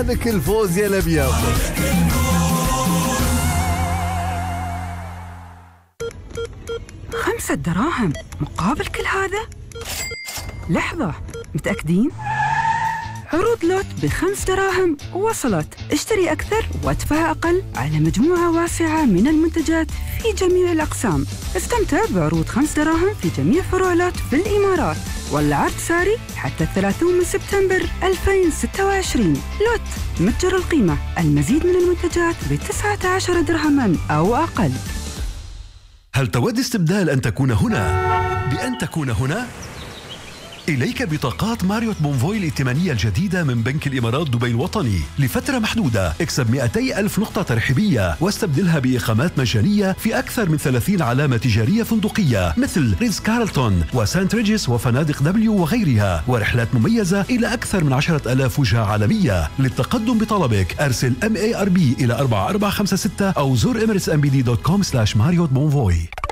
هالك الفوز يا الأبيض. $5 دراهم مقابل كل هذا؟ لحظة، متأكدين؟ عروض لوت ب5 دراهم وصلت. اشتري أكثر وادفع أقل على مجموعة واسعة من المنتجات في جميع الأقسام. استمتع بعروض 5 دراهم في جميع فروع لوت في الإمارات، والعرض ساري حتى 30 سبتمبر 2026. لوت متجر القيمة، المزيد من المنتجات ب19 درهما أو أقل. هل تود استبدال أن تكون هنا بأن تكون هنا؟ إليك بطاقات ماريوت بونفوي الائتمانية الجديدة من بنك الإمارات دبي الوطني لفترة محدودة. اكسب 200,000 نقطة ترحيبية واستبدلها بإقامات مجانية في أكثر من 30 علامة تجارية فندقية مثل ريتز كارلتون وسانت ريجيس وفنادق دبليو وغيرها، ورحلات مميزة إلى أكثر من 10,000 وجهة عالمية. للتقدم بطلبك أرسل MARB إلى 4456 أو زور emiratesmbd.com/Marriott Bonvoy.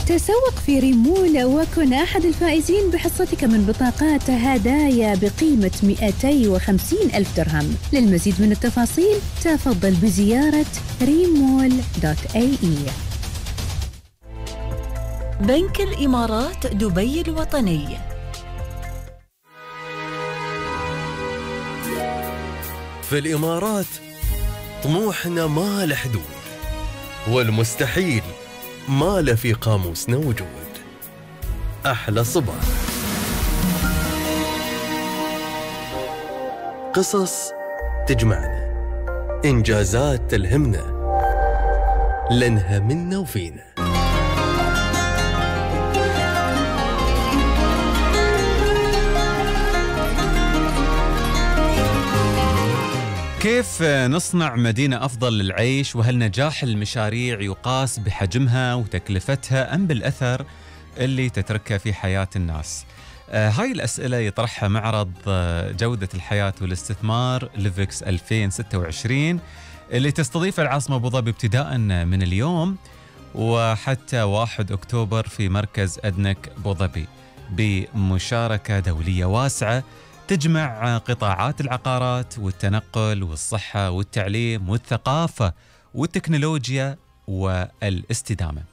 تسوق في ريمول وكن أحد الفائزين بحصتك من بطاقات هدايا بقيمة 250,000 درهم. للمزيد من التفاصيل تفضل بزيارة remol.ae. بنك الإمارات دبي الوطني. في الإمارات طموحنا ما له حدود، والمستحيل ما له في قاموسنا وجود. أحلى صباح، قصص تجمعنا، إنجازات تلهمنا، لأنها منا وفينا. كيف نصنع مدينة أفضل للعيش؟ وهل نجاح المشاريع يقاس بحجمها وتكلفتها أم بالأثر اللي تتركه في حياة الناس؟ هاي الأسئلة يطرحها معرض جودة الحياة والاستثمار ليفكس 2026 اللي تستضيف العاصمة أبو ظبي ابتداء من اليوم وحتى 1 أكتوبر في مركز أدنك أبو ظبي، بمشاركة دولية واسعة تجمع قطاعات العقارات والتنقل والصحة والتعليم والثقافة والتكنولوجيا والاستدامة.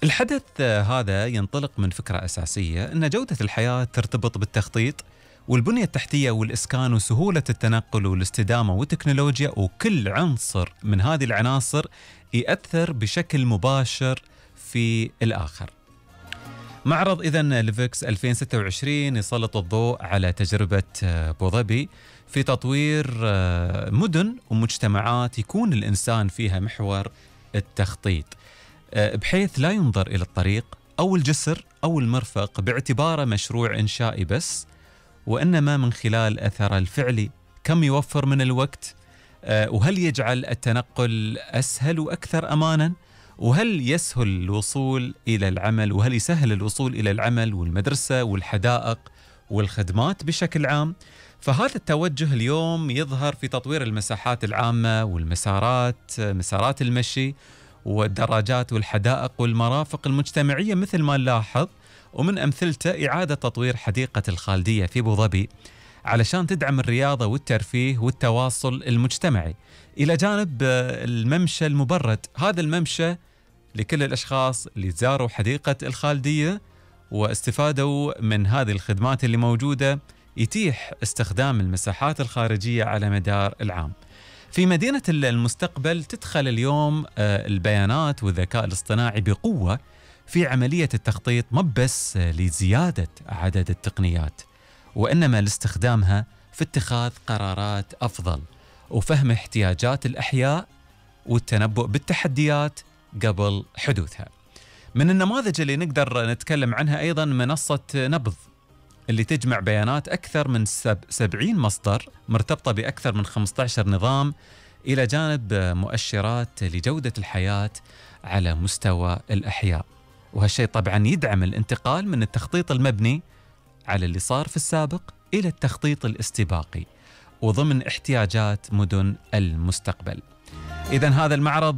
الحدث هذا ينطلق من فكرة أساسية أن جودة الحياة ترتبط بالتخطيط والبنية التحتية والإسكان وسهولة التنقل والاستدامة والتكنولوجيا، وكل عنصر من هذه العناصر يأثر بشكل مباشر في الآخر. معرض إذن ليفكس 2026 يسلط الضوء على تجربة أبو ظبي في تطوير مدن ومجتمعات يكون الإنسان فيها محور التخطيط، بحيث لا ينظر إلى الطريق أو الجسر أو المرفق باعتباره مشروع إنشائي بس، وإنما من خلال أثره الفعلي، كم يوفر من الوقت، وهل يجعل التنقل أسهل وأكثر أماناً، وهل يسهل الوصول إلى العمل، وهل يسهل الوصول إلى العمل والمدرسة والحدائق والخدمات بشكل عام. فهذا التوجه اليوم يظهر في تطوير المساحات العامة والمسارات، مسارات المشي والدراجات والحدائق والمرافق المجتمعية مثل ما نلاحظ. ومن أمثلته إعادة تطوير حديقة الخالدية في أبو ظبي علشان تدعم الرياضة والترفيه والتواصل المجتمعي، إلى جانب الممشى المبرد. هذا الممشى لكل الأشخاص اللي زاروا حديقة الخالدية واستفادوا من هذه الخدمات اللي موجودة، يتيح استخدام المساحات الخارجية على مدار العام. في مدينة المستقبل تدخل اليوم البيانات والذكاء الاصطناعي بقوة في عملية التخطيط، ما بس لزيادة عدد التقنيات، وإنما لاستخدامها في اتخاذ قرارات أفضل وفهم احتياجات الأحياء والتنبؤ بالتحديات قبل حدوثها. من النماذج اللي نقدر نتكلم عنها أيضا منصة نبض اللي تجمع بيانات أكثر من 70 مصدر مرتبطة بأكثر من 15 نظام، إلى جانب مؤشرات لجودة الحياة على مستوى الأحياء. وهالشيء طبعا يدعم الانتقال من التخطيط المبني على اللي صار في السابق إلى التخطيط الاستباقي وضمن احتياجات مدن المستقبل. إذن هذا المعرض